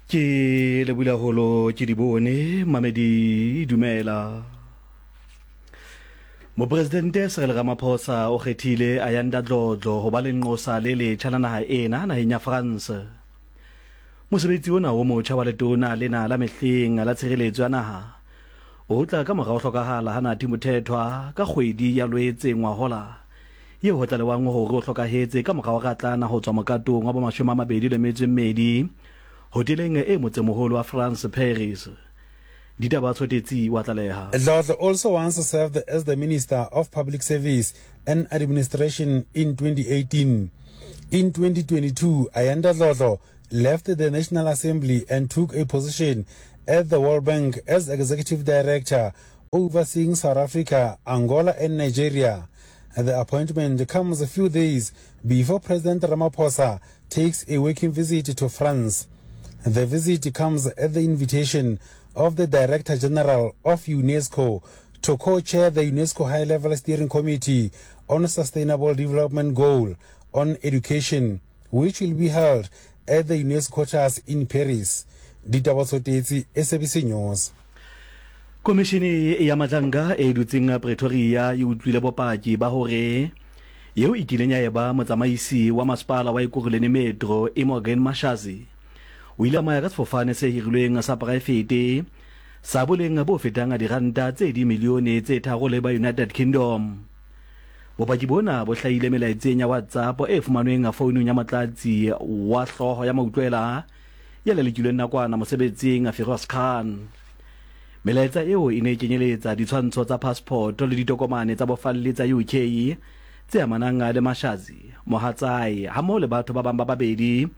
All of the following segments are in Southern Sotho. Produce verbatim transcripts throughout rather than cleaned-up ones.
Ke lebohile haholo ke di bone mamedi dumela. Mopresidente Cyril Ramaphosa o kgethile Ayanda Dlodlo ho ba lenqosa le letjha la naha ena naheng ya France. Mosebetsi ona o motjha wa letona lena la mehleng la tshireletso ya naha o tla ka mora ho hlokahala ha Nathi Mthethwa ka kgwedi ya Lwetse ngwahola yeo ho tlalewang hore o hlokahetse ka mora ho ratlana ho tswa mokatong wa bomashome a mabedi le metso e mmedi hoteleng e motsemoholo wa France Paris. Ditaba Tshotetsi wa tlaleha. Dlodlo also once served as the Minister of Public Service and Administration in twenty eighteen. In twenty twenty-two, Ayanda Dlodlo left the National Assembly and took a position at the World Bank as Executive Director overseeing South Africa, Angola and Nigeria. The appointment comes a few days before President Ramaphosa takes a working visit to France. The visit comes at the invitation of the Director General of UNESCO to co-chair the UNESCO High-Level Steering Committee on Sustainable Development Goal on Education, which will be held at the UNESCO quarters in Paris. Ditaba Tsotetsi, S A B C News. Komishene ya Madlanga e dutseng Pretoria e utlwile bopaki ba hore yeo e kileng ya eba motsamaisi wa masepala wa Ekurhuleni Metro Imogen Mashazi o ile a maya ka sefofane se hirilweng sa poraefete sa boleng bo fetang diranta tse dimilione tse tharo le ba United Kingdom. Bopaki bona bo hlahile melaetseng ya WhatsApp e fumanweng founung ya motlatsi wa hlooho ya mautlwela ya lelekilweng nakwana mosebetsing Firoz Khan. Melaetsa eo e ne e kenyeletsa ditshwantsho tsa passport le ditokomane tsa bofalli tsa U K tse amanang le Mashazi, mohatsae hammoho le batho ba bang ba babedi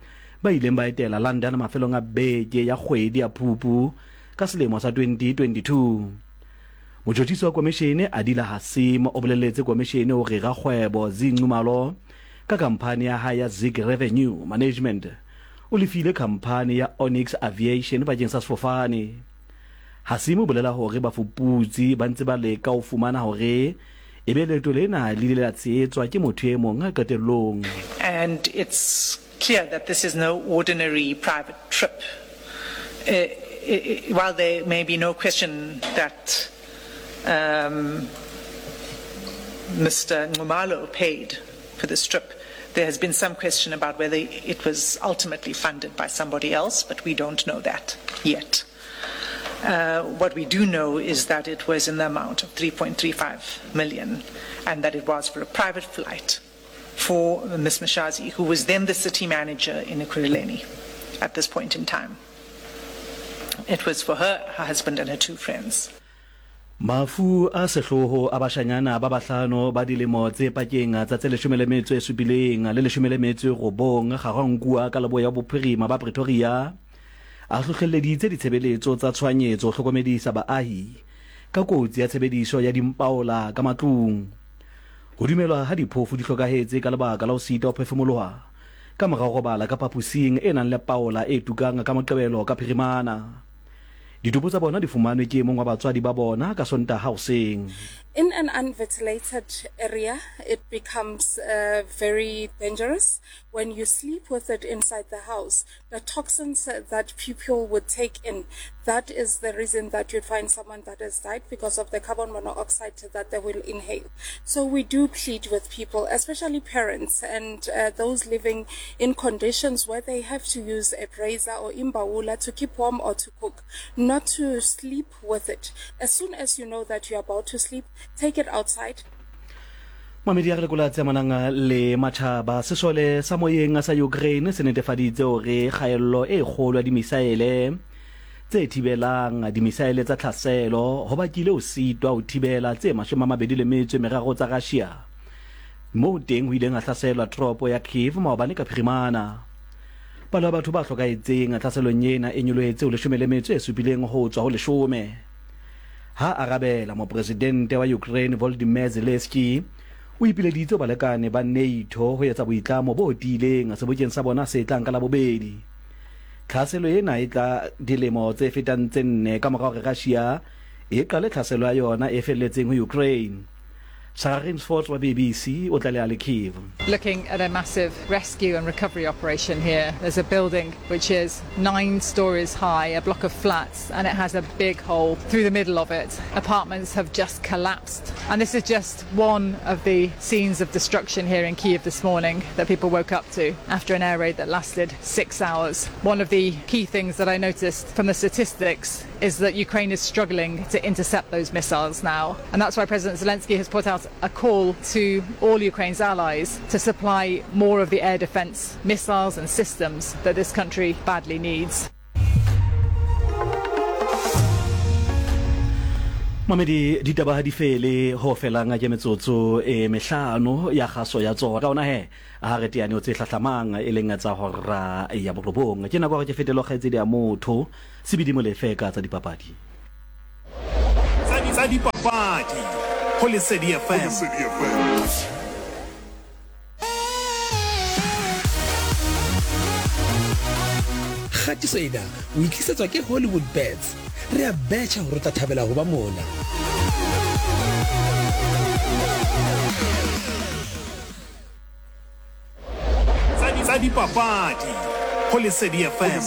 ba ileng ba etela London mafelong a beke ya kgwedi ya Phupu ka selemo sa twenty twenty-two. Motjhotjhisi wa komishene Adila Hassim o boleletse komishene hore rakgwebo Zee Nxumalo ka khamphani ya hae ya Zig Revenue Management o lefile khamphani ya Onyx Aviation bakeng sa sefofane. Hassim o bolela hore bafuputsi ba ntse ba leka ho fumana hore ebe leeto lena le ile la tshehetswa ke motho e mong qetellong. And it's clear that this is no ordinary private trip. Uh, while there may be no question that um, Mister Nxumalo paid for this trip, there has been some question about whether it was ultimately funded by somebody else, but we don't know that yet. Uh, what we do know is that it was in the amount of three point three five million and that it was for a private flight for Miz Mashazi, who was then the city manager in Ekurhuleni at this point in time. It was for her, her husband and her two friends. Mafu a sehloho a bashanyana ba bahlano ba dilemo tse pakeng tsa tse leshome le metso e supileng le leshome le metso e robong Ga-Rankuwa ka leboya bophirima ba Pretoria a hlohleleditse ditshebeletso tsa tshohanyetso ho hlokomedisa baahi ka kotsi ya tshebediso ya dimpaola ka matlung. Ho dumelwa ha diphofu di hlokahetse ka lebaka la ho sitwa ho phefumoloha ka mora ho robala ka phaposing e nang le paola e tukang ka Moqebelo ka phirimana. Ditopo tsa bona di fumanwe ke e mong wa batswadi ba bona ka Sontaha hoseng. In an unventilated area, it becomes uh, very dangerous. When you sleep with it inside the house, the toxins that people would take in, that is the reason that you'd find someone that has died, because of the carbon monoxide that they will inhale. So we do plead with people, especially parents and uh, those living in conditions where they have to use a brazier or imbawula to keep warm or to cook, not to sleep with it. As soon as you know that you're about to sleep, take it outside. Mamedi ya re lekola tse amanang le matjhaba. Sesole sa moyeng sa Ukraine se netefaditse hore kgaello e kgolo ya dimisaele tse thibelang dimisaele tsa tlhaselo ho bakile ho sitwa ho thibela tse mashome a mabedi le metso e meraro tsa Russia moo teng ho ileng ha hlaselwa toropo ya Kyiv maobane ka phirimana. Palo ya batho ba hlokahetseng tlhaselong ena e nyolohetse ho leshome le metso e supileng ho tswa ho leshome. Ha arabela mopresidente wa Ukraine Volodymyr Zelensky o ipileditse balekane ba NATO ho etsa boitlamo bo tiileng sebokeng sa bona se tlang ka Labobedi. Tlhaselo ena e tla dilemo tse fetang tse nne ka mora hore Russia e qale tlhaselo ya yona e felletseng ho Ukraine. Sarah Rainsford wa B B C o tlaleha le Kyiv. Looking at a massive rescue and recovery operation here. There's a building which is nine stories high, a block of flats, and it has a big hole through the middle of it. Apartments have just collapsed. And this is just one of the scenes of destruction here in Kyiv this morning that people woke up to after an air raid that lasted six hours. One of the key things that I noticed from the statistics is that Ukraine is struggling to intercept those missiles now. And that's why President Zelensky has put out a call to all Ukraine's allies to supply more of the air defense missiles and systems that this country badly needs. Mamedi, ditaba ha di fele ho felang ke metsotso e mehlano ya kgaso ya tsona. Ka ona he ha re teane tse hlahlamang e leng tsa hora ya borobong. Ke nako ya hore ke fetele ho kgaitsedi ya motho Sebidi Molefe ka tsa dipapadi. Tsa dipapadi ho Lesedi F M. Kgatiso ena o itlisetswa ke Hollywood Bets. Re a betjha hore o tla thabela ho ba mona. Tsa dipapadi ho Lesedi F M.